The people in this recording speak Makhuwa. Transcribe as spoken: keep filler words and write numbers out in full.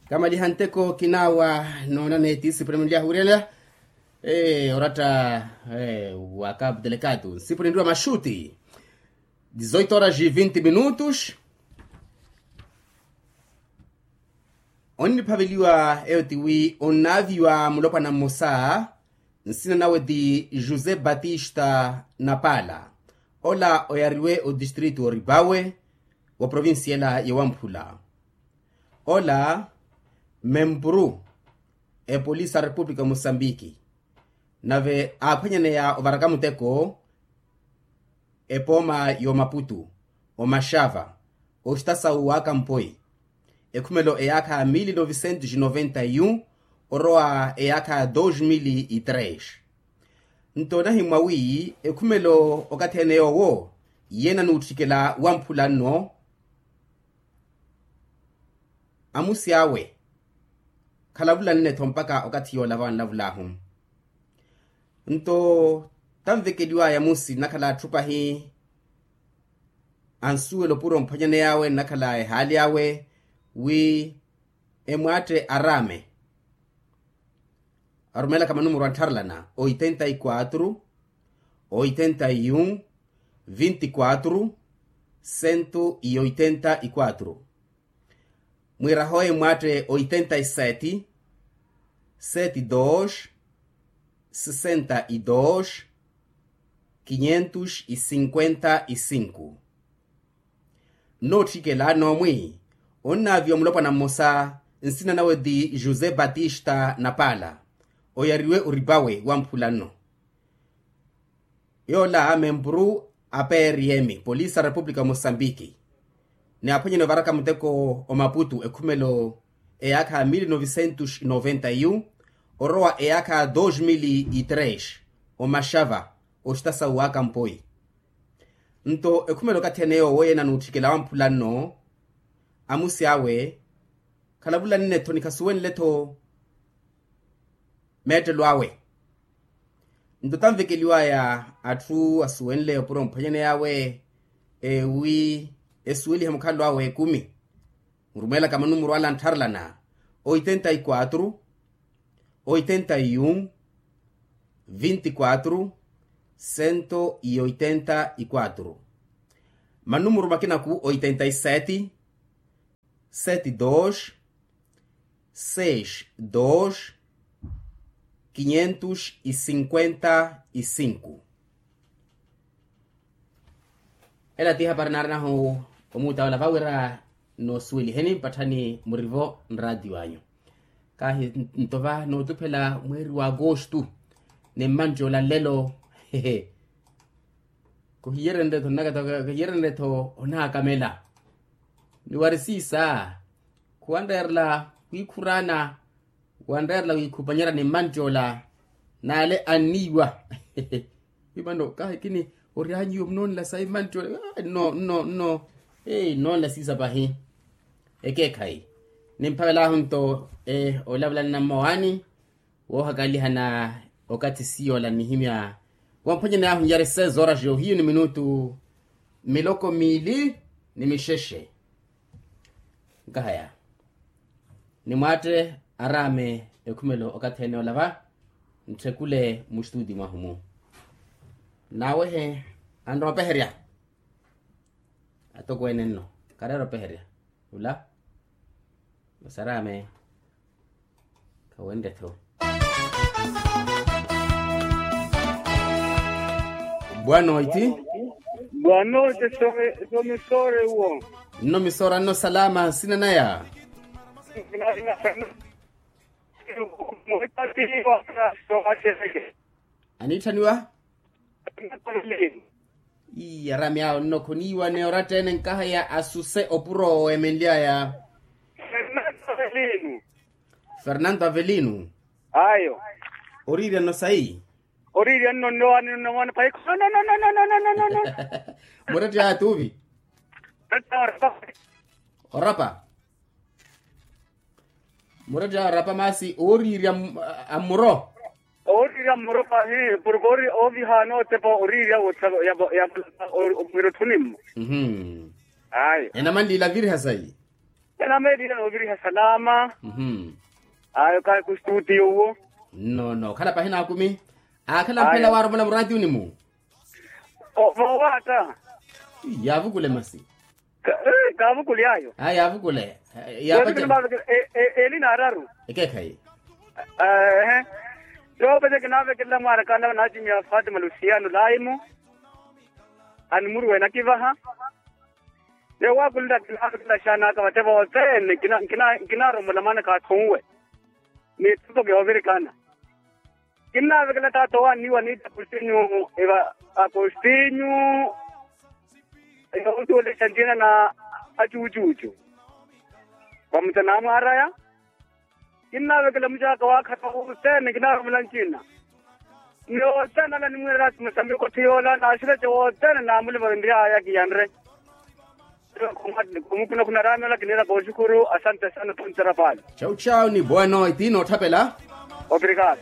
Kamaliha nteko kinawa noonaneti sipremeliya huurela. Oratta wa kapu telekatu nsipremeliwa maxuti. Dizoito horas e vinte minutos. Onniphaveliwa eyo tiwi onnaaviwa mulopwana mmosa. Nsina nawe ti josé batista napaala. Ola oyariwe otistrito oripawe wa provincia ela ya wamphula. Ola mempuru epolisi a repupulika mosambiki. Nave aaphwanyaneya ovaraka muteko epooma y'omaputu omaxava oxitasawu wakampoi. Ekhumelo eyaakha mili novicentos noventa e um orowa eyaakha dos mili e três. Nto nahimwa wi ekhumelo okathi ene yoowo iye nanuutthikela wamphula nno. Amusi awe khalavula nne-tho mpakha okathi yoola vanlavulaahu. Nto tanvekeliwaya amusi nnakhala atthu pahi ansuwela opuro mphwanyaney'awe nnakhala ehaali awe wi emwaatte araame arumeelaka manumuru anttharelana oitenta e quatro oitenta e um vinte e quatro cento e oitenta e quatro. Mwiiraha oyo emwaatte oitenta e sete sete dos sesenta e dos quinhentos e cinquenta e cinco. Nnootthikela noomwi onnaaviwa mulopwana mmosa nsina nawe ti josé batista napaala. Oyariwe oripawe wamphula nno. Yoola mempuru a prm polisi a repupulika mosambiki. Ni aphwanyene ovaraka muteko omaputu ekhumelo eyaakha mili novicentos noventa e um orowa eyaakha dos mili e três omaxava oxitasawu wakampoi. Nto ekhumelo okathi ene yoowo yeena nuutthikela wamphula nno amusi awe khalavula nne-tho ni khasuwenle-tho meettelo awe. Nto tanvekeliwaya atthu asuwenle opuro mphwanyaney'awe ewi esuwelihe mukhalo awe ekumi. Murumeelaka manumuru ala anttharelana oitenta e quatro oitenta e um vinte e quatro cento e oitenta e quatro. Manumuru makinaku oitenta e sete sete dos seis dos quinhentos e cinquenta e cinco. Ela ti hapari naarinahu omuuta ola vawira noosuweliheni mpatthani murivo nraatiyo anyu. Kahi nto va nootuphela mweeri wa agostu ni mmantti ola nlelo. Hehe. Kuhiyerenre-tho nnakataka kuhiyerenre-tho onaakamela. Ni wari siisa khuwanreerela wiikhuraana wanreerela wiikhupanyerya ni mmantti ola naale anniiwa. Wi mano kahi kini oryanyiwe munoonela sayi mmantti ola. Nno nno nno. Nnoonela siisa pahi ekeekhayi. Nimphavelaahu nto olavulanana mmowaani woohakalihana okathi siyola nnihimya wamphwanyaney'ahu nyari seis horas yohiyu ni minutu miloko miili ni mixexe. Nkahaya nimwaatte araame ekhumelo okathi ene olava ntthekule mustuti mwahu-mu. Naawehe anrowa opeherya atokweene nno kareera opeherya ula. Masi araame khawenre-tho. Bwanoiti. Bwanoiti. Somisoore uwo. Nno misoora nno salama nsina naya. Aniitthaniwa. Ii araami awo nno khoniiwa ni oratta ene nkahaya asuse opuro owo emenly'aya. Fernando avelino. Ayo. Oriirya nno sayi. Oriirya nno nnowaani nno mwaana pahi. Muretti aya tuuvi. Orapa. Muretti aya orapa masi ooriirya ammuro. Ooriirya ammuro pahi porke ovihaana otepa oriirya woottha ya mwira otthuni mmo. Ayo. Enamanliila virha sayi. Ena meeriya nooviriha salama. Mhm. Ayo kahi kustutiyo uwo. Nno nno okhala pahi naakumi. Aakhala mphela waaromela muraatiyuni-mu. Voowaata. Yaavukule masi. Kaavukule ayo. Aa yaavukule. Yaapacela. Eeli naararu. Ekeekhayi. Ehe. Yoopaca kinaavekelela mwaarakaana vanaacimiya fatima lusiyano laimu. Animuruwe nakivaha. Neewaakulela kinaavekelela xaanaka vate vothene. Nkinaarombola maana kaathunwe. Ni toko kiyoovirikana. Kinnaavekela taata owaaniwa niita akustinyu. Eva akustinyu. Eyoontuwelexa ncina na acuucuucu. Vamutana amwaaraya. Kinnaavekela mucaaka waakhata wothene kinnaarumela ncina. Ni wothene ala nimwiira erasimu sa mikotthi yoola naaxirece wothene naamulima vinrihaya kiyanre. Khumukhuna khunaraamela kiniira kooxukhuru asante sana ponterapali. Chau chau ni bueno eti nootthapela. Obrigado.